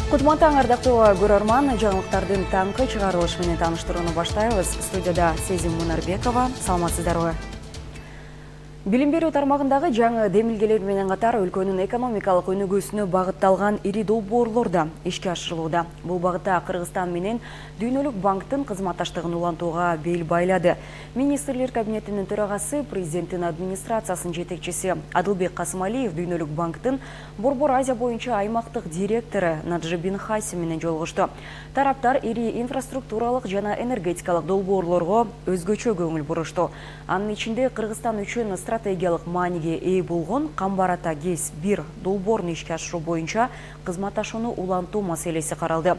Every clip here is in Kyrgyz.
Кутман таң, ардактуу көрөрман, жаңылыктардын таңкы чыгарылышы менен тааныштырууну баштайбыз. Студияда Сезим Мунарбекова. Саламатсыздарбы? Билим берүү тармагындагы жаңы демилгелер менен катар өлкөнүн экономикалык өнүгүүсүнө багытталган ири долбоорлор да ишке ашырылууда. Бул багытта Кыргызстан менен Дүйнөлүк банктын кызматташтыгын улантууга бел байлады. Министрлер кабинетинин төрагасы, президенттин администрациясынын жетекчиси Адылбек Касымалиев Дүйнөлүк банктын Борбор Азия боюнча аймактык директору Наджи Бин Хаси менен жолугушту. Тараптар ири инфраструктуралык жана энергетикалык долбоорлорго өзгөчө көңүл бурушту. Анын ичинде Кыргызстан үчүн стратегиялык мааниге ээ болгон Камбар Ата ГЭС 1 долбоорун ишке ашыруу боюнча кызматташууну улантуу маселеси каралды.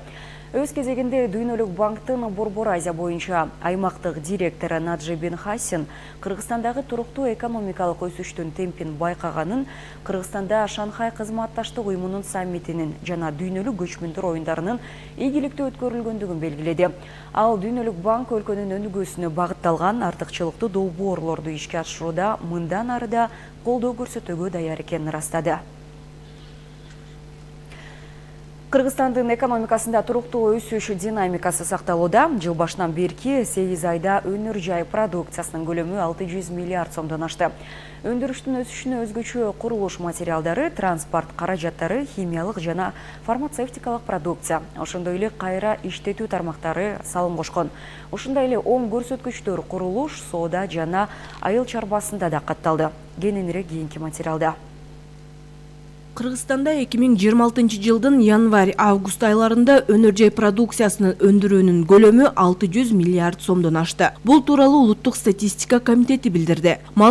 Өз кезегинде Дүйнөлүк банктын Борбор Азия боюнча аймактык директору Наджи Бин Хаси Кыргызстандагы туруктуу экономикалык өсүштүн темпин байкаганын, Кыргызстанда Шанхай кызматташтык уюмунун саммитинин жана дүйнөлүк көчмөндөр оюндарынын ийгиликтүү өткөрүлгөндүгүн белгиледи. Ал Дүйнөлүк банк өлкөнүн өнүгүүсүнө багытталган артыкчылыктуу долбоорлорду ишке ашырууда мындан ары да колдоо көрсөтүүгө даяр экенин ырастады. Кыргызстандын экономикасында туруктуу өсүш динамикасы сакталууда. Жыл башынан берки 8 айда өнөр жай продукциясынын көлөмү 600 миллиард сомдон ашты. Өндүрүштүн өсүшүнө өзгөчө курулуш материалдары, транспорт каражаттары, химиялык жана фармацевтикалык продукция, ошондой эле кайра иштетүү тармактары салым кошкон. Ушундай эле оң көрсөткүчтөр курулуш, соода жана айыл чарбасында да катталды. Кененирээк кийинки материалда. Кыргызстанда 2026 жылдын январь-август айларында өнөр жай продукциясынын өндүрүүнүн көлөмү 600 миллиард сомдон ашты. Бул тууралуу Улуттук статистика комитети билдирди.